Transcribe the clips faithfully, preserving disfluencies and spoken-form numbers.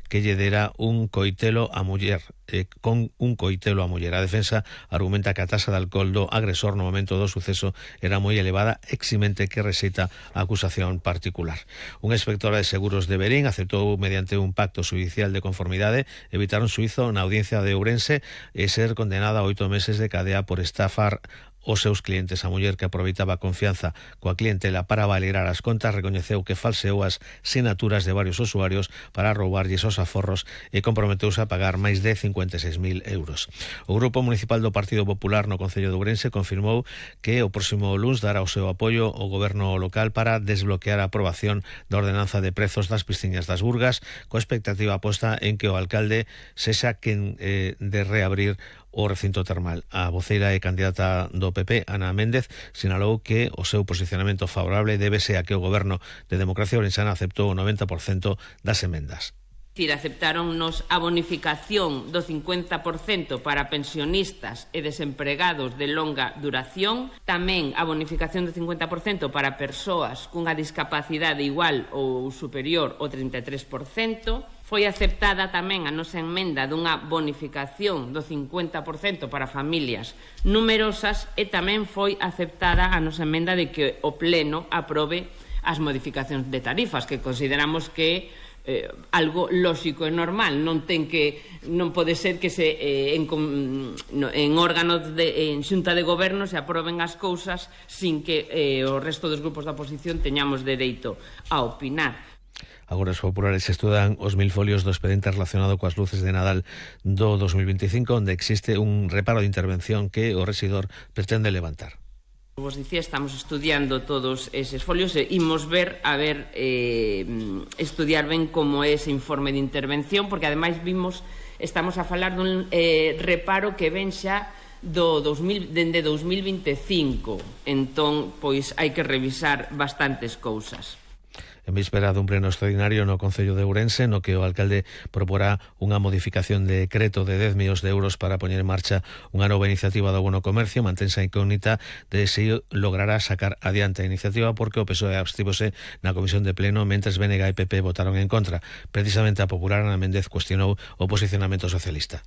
que lle dera un coitelo a muller, eh, con un coitelo a muller. A defensa argumenta que a tasa de alcohol do agresor no momento do suceso era moi elevada, eximente que rexeita a acusación particular. Un inspector de seguros de Verín aceptou mediante un pacto judicial de conformidade evitar un suizo na audiencia de Ourense e ser condenada a oito meses de cadea por estafar os seus clientes. A muller, que aproveitaba a confianza coa clientela para valer as contas, recoñeceu que falseou as sinaturas de varios usuarios para roubarlles os aforros e comprometeuse a pagar máis de cincuenta e seis mil euros. O Grupo Municipal do Partido Popular no Concello de Ourense confirmou que o próximo luns dará o seu apoio ao goberno local para desbloquear a aprobación da ordenanza de prezos das piscinas das Burgas, coa expectativa posta en que o alcalde sexa quen eh, de reabrir o recinto termal. A voceira e candidata do P P, Ana Méndez, sinalou que o seu posicionamento favorable débese a que o goberno de Democracia Ourensana aceptou o noventa por cento das emendas. Aceptáronnos a bonificación do cincuenta por cento para pensionistas e desempregados de longa duración, tamén a bonificación do cincuenta por cento para persoas cunha discapacidade igual ou superior ao trinta e tres por cento. Foi aceptada tamén a nosa emenda dunha bonificación do cincuenta por cento para familias numerosas e tamén foi aceptada a nosa emenda de que o Pleno aprobe as modificacións de tarifas, que consideramos que eh, algo lóxico e normal. Non ten que non pode ser que se eh, en, no, en órganos de en xunta de goberno se aproben as cousas sin que eh, o resto dos grupos da oposición teñamos dereito a opinar. Agora os populares estudan os mil folios do expediente relacionado coas luces de Nadal do dos mil veinticinco, onde existe un reparo de intervención que o rexidor pretende levantar. Vos dicía, estamos estudiando todos eses folios e imos ver, a ver, eh, estudiar ben como é ese informe de intervención, porque ademais vimos, estamos a falar dun eh, reparo que ven xa do dos mil, dende dos mil veinticinco, entón, pois, hai que revisar bastantes cousas. En víspera dun pleno extraordinario no Concello de Ourense, no que o alcalde proporá unha modificación de decreto de dez millóns de euros para poñer en marcha unha nova iniciativa do Bono Comercio, mantense a incógnita de se logrará sacar adiante a iniciativa, porque o P S O E abstívose na comisión de pleno, mentres B N G e P P votaron en contra. Precisamente a popular Ana Méndez cuestionou o posicionamento socialista.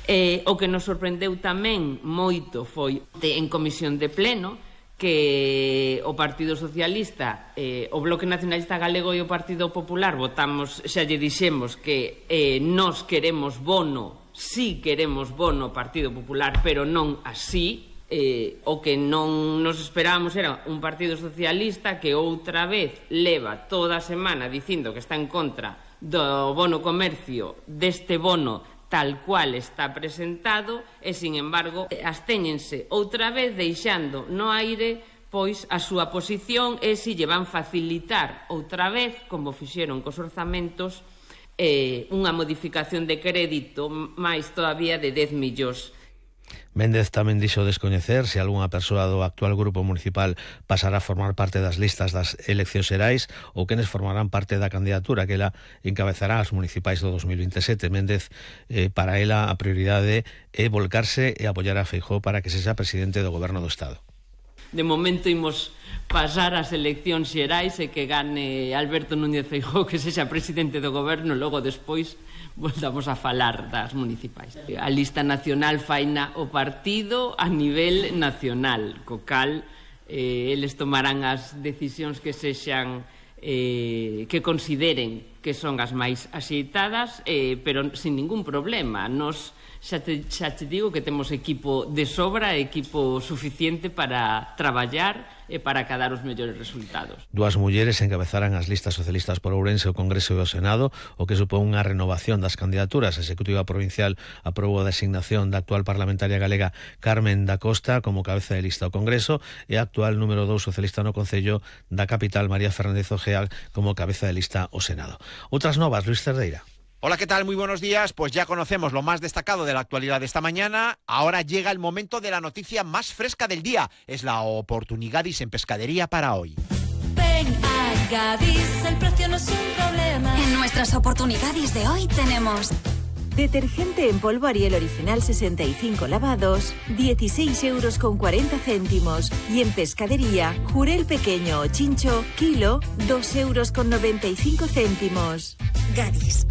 Eh, o que nos sorprendeu tamén moito foi de, en comisión de pleno, que o Partido Socialista, eh, o Bloque Nacionalista Galego e o Partido Popular votamos, xa lle dixemos que eh, nos queremos bono, si queremos bono Partido Popular, pero non así. Eh, o que non nos esperábamos era un Partido Socialista que outra vez leva toda a semana dicindo que está en contra do bono comercio, deste bono tal cual está presentado, e, sin embargo, abstéñense outra vez deixando no aire pois a súa posición e se lle van facilitar outra vez, como fixeron cos orzamentos, eh, unha modificación de crédito máis todavía de dez millóns. Méndez tamén dixo descoñecer se algunha persoa do actual grupo municipal pasará a formar parte das listas das eleccións xerais ou quenes formarán parte da candidatura que ela encabezará as municipais do dos mil veintisiete. Méndez, eh, para ela, a prioridade é volcarse e apoiar a Feijóo para que sexa presidente do goberno do Estado. De momento imos pasar as eleccións xerais e que gane Alberto Núñez Feijóo, que sexa presidente do goberno, logo despois voltamos a falar das municipais. A lista nacional faina o partido a nivel nacional, co cal eh, eles tomarán as decisións que sexan eh, que consideren que son as máis axeitadas, eh, pero sin ningún problema. Nos xa te, xa te digo que temos equipo de sobra, equipo suficiente para traballar e para cadar os mellores resultados. Dúas mulleres encabezarán as listas socialistas por Ourense, o Congreso e o Senado, o que supón unha renovación das candidaturas. A Executiva Provincial aprobou a designación da actual parlamentaria galega Carmen da Costa como cabeza de lista ao Congreso e a actual número dous socialista no Concello da capital, María Fernández Ojea, como cabeza de lista ao Senado. Outras novas, Luis Cerdeira. Hola, ¿qué tal? Muy buenos días. Pues ya conocemos lo más destacado de la actualidad de esta mañana. Ahora llega el momento de la noticia más fresca del día. Es la oportunidadis en pescadería para hoy. Ven a Gadis, el precio no es un problema. En nuestras oportunidades de hoy tenemos detergente en polvo Ariel original sesenta y cinco lavados, dieciséis euros con cuarenta céntimos. Y en pescadería, jurel pequeño o chincho, kilo, dos euros con noventa y cinco céntimos. Gadis.